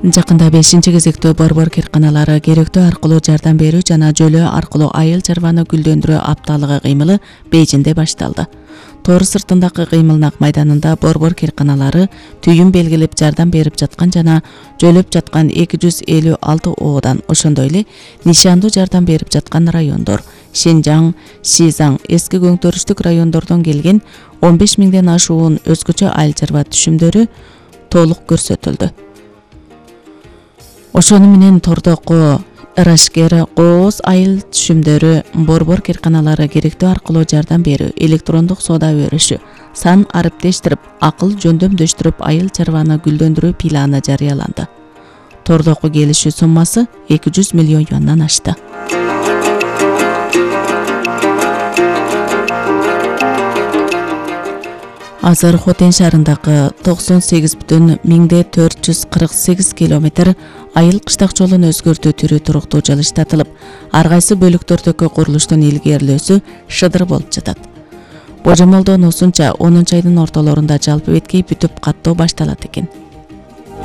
Жакында 5-кезектөө борбор кирканалары керектөө аркылуу жардам берүү жана жөлөө аркылуу айыл чарбаны гүлдөндүрүү апталыгы кыймылы Бейжинде башталды. Тоор сыртындагы кыймылнак майданында борбор кирканалары түйүн белгилеп жардам берип жаткан жана жөлөп жаткан 256 оодан, ошондой эле нишандуу жардам берип жаткан райондор Шинжаң, Шизаң, эски көңтөрүштүк райондордон келген 15 миңден ашуун өзгөчө айыл чарба түшүмдөрү толук көрсөтүлдү. Ошону менен тордоку ырашкер кооз айыл түшүмдөрү, борбор кирканалары керектөө аркылуу жардам берүү, электрондук соода өрүшү, сан ариптештирип, акыл жөндөмдөштүрүп айыл чарбаны гүлдөндүрүү планы жарыяланды. Тордоку келишүү суммасы 200 миллион юандан ашты. Азыр Хотен шаарындагы 98,448 километр айыл кыштак жолун өзгөртүү түрү туруктуу жылыштатылып, ар кайсы бөлүктөрдөгү курулуштун илгерилөөсү шыдыр болуп жатат. Божомолдонуусунча 10 айдын ортолорунда жалпы беткей бүтүп каттоо башталат экен.